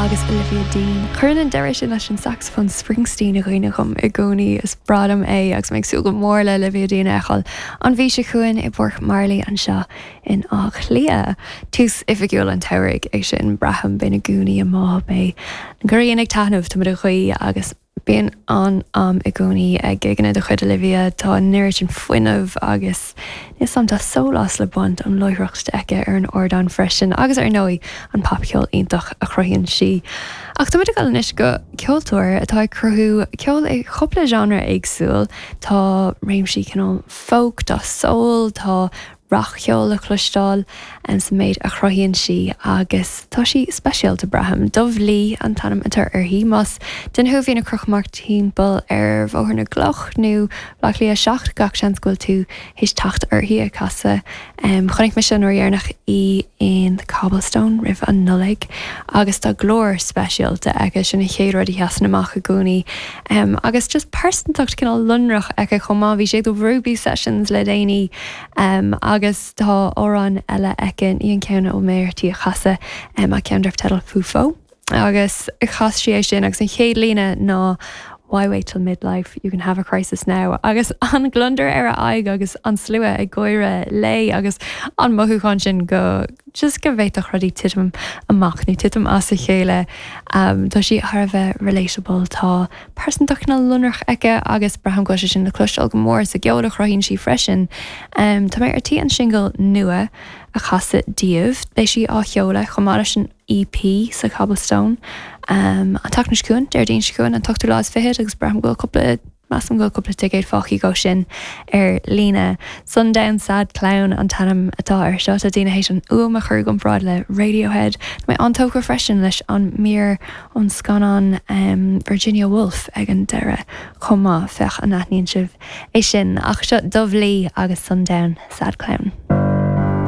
agus Olivia Dean. Cuireann an deireadh sin leis an sacsafón Springsteen i gcuimhne dhom i gcónaí. Is breá liom é agus mé ag súil go mór le Olivia Dean a fheiceáil an mhí seo chugainn i bPáirc Marley anseo in Áth Cliath. Tús oifigiúil an tsamhraidh é sin, braithim. Beidh na gúnaí amuigh, beidh an ghrian ag taitneamh, táimid ag guí agus Bíonn an-am i gcónaí ag gigeanna de chuid Olivia, tá an oiread sin fuinnimh agus níl 's a'm, tá sólás le baint ón láithreacht aici ar an ardán freisin agus ar ndóigh an popcheol iontach a chruthaíonn sí. Ach táimid ag dul anois go ceoltóir atá ag cruthú ceol i chúpla genre éagsúil, tá réimsí cineál folk, tá soul, tá rac-cheol le cloisteáil sa méid a chruthaíonn sí agus tá sí speisialta, braithim. Dubh Lee an t-ainm atá uirthi. Más duine thú a bhíonn ag crochadh amach timpeall ar Bhóthar na gCloch nó Baile Átha Cliath 7, gach seans go bhfuil tú théis teacht uirthi ag casadh. Chonaic mise an uair dheireanach í in The Cobblestone roimh an Nollaig agus tá glór speisialta aici, sin an chéad rud a sheasann amach i gcónaí. Agus just pearsantacht cineál lonrach aici chomh maith. Bhí sí ag The Ruby Sessions le déanaí. Agus tá amhrán eile aici, ní an ceann a bhfuil mé ar tí a chasadh, ach ceann darb teideal Fufo. Agus chas sí é sin agus an chéad líne ná Why wait till midlife, you can have a crisis now. Agus an gliondar ar a aghaidh agus an slua ag gáire léi agus an mothúchán sin go just go bhféadfadh rudaí titim amach nó titim as a chéile. Tá sí thar a bheith relatable, tá pearsantacht cineál lonrach aici agus braithim go bhfuil sé sin le cloisteáil go mór sa gceol a chruthaíonn sí freisin. Tá mé ar tí an singil nua a chasadh daoibh. Beidh sí á sheoladh chomh maith leis an EP sa Cobblestone an tseachtain seo chugainn, Déardaoin seo chugainn, an t-ochtú lá is fichead agus braithim go bhfuil cúpla Measaim go bhfuil cúpla ticéad fágtha dhó sin ar líne. Sundown Sad Clown an t-ainm atá air seo. Tá daoine théis an fhuaim a chur i gcomparáid le Radiohead. Tá mé an-tógtha freisin leis an mír ón scannán Virginia Woolf ag an deireadh chomh maith. Féach an aithníonn sibh é sin. Ach seo Dubh Lee agus Sundown Sad Clown.